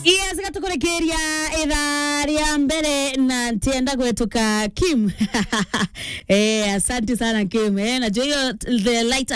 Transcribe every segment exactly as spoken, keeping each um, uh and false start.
Yes, gatukurekeria ithaa ria mbere na ntienda gwetuka Kim. Eh, asante sana Kim. Eh, najua hiyo the light,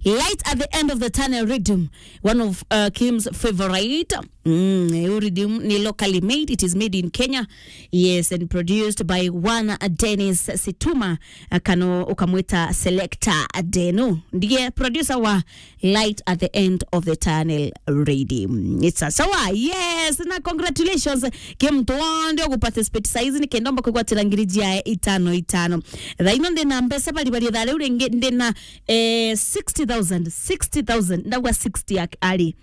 light at the end of the tunnel rhythm. One of uh, Kim's favorite. Mm, eh, rhythm ni locally made. It is made in Kenya. Yes, and produced by one Dennis Situma. Uh, kano ukamwita selector Deno. Ndiye producer wa light at the end of the tunnel ready. It's a sawa, yes, na congratulations. Ke mtu wonde ugu participate saizi ni kenda omba kwigwatira ngiri jia itano itano. Thaino ndina mbeca bari bari thare uringi ndina eh, sixty thousand, sixty thousand, ndagwa sixty ak-, ari.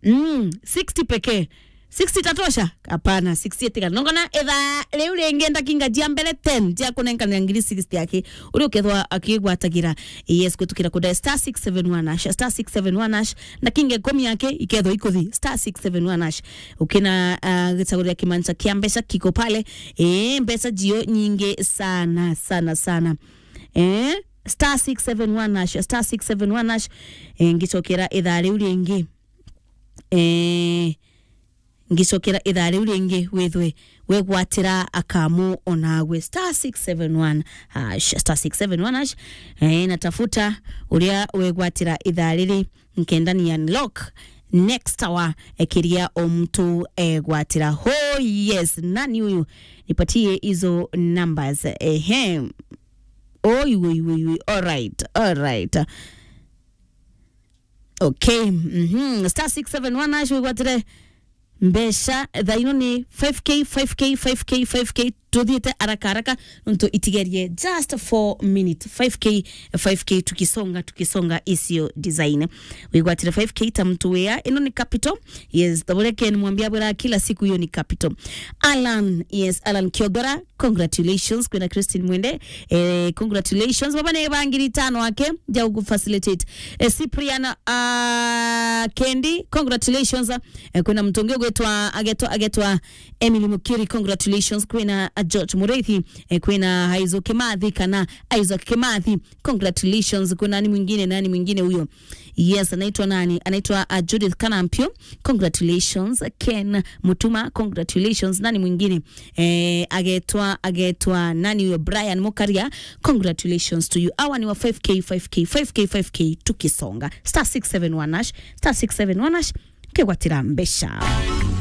Mm, sixty pekee. Sixty tatosha? Hapana, sixty etigana. Nongona etha riu ringi ndakinga jia mbere ten jia kunenkanira ngiri sixty aki. Uri ukethwa akigwatagira. Yes, kwitukira kuda star six seven one hash, star six seven one hash. Ndakinga ikumi aki ikethwa ikuthi star six seven one hash. Ukina uh, gicagurira kimancha kia mbeca kiko pale. Eh, mbeca jio nyingi sana sana sana. Eh, star six seven one hash, star six seven one hash. Eh, ngicokera etha riu ringi. Eh, ngicokera ithaa riu ringi withwe wegwatira akamu onagwe star six seven one hash, star six seven one hash. Eh, natafuta uria wegwatira ithaa riri nkenda ni unlock next hour ekiria omtu egwatira. Oh yes, nani huyu? Nipatie hizo numbers. Ehe. Oi, oi, oi, oi. All right, all right. Okay, mhm. Star six seven one hash wigwatire mbeca thaino ni five K, five K, five K, five K. Tuthiite haraka haraka nontu itigerie just four minutes. Five K, five K, tukisonga, tukisonga isio design. Wigwatire five K ta mtu wea, ino ni capital. Yes, tabule Ken mwambia bwira kila siku hiyo ni capital. Alan, yes, Alan Kiogora, congratulations. Kwina Christine Mwende, eh, congratulations. Baba ni bangiri tano wake, ja ugu facilitate. Eh, Cyprian, ah, Kendi, congratulations. Eh, kwina mtu ungi ugwitwa, agetwa, agetwa Emily Mukiri, congratulations. Kwina, ah, George Mureithi, eh, kwina Isaac Kimathi kana Isaac Kimathi, congratulations. Kwina nani mwingine, nani mwingine huyo? Yes, anaitwa nani? Anaitwa, uh, Judith Kanampio. Congratulations. Ken Mutuma, congratulations. Nani mwingine? Eh, agetwa, agetwa nani huyo? Brian Mukaria, congratulations to you. Awa ni wa five K, five K, five K, five K, tukisonga. Star six seven one hash, star six seven one hash, kegwatira mbeca.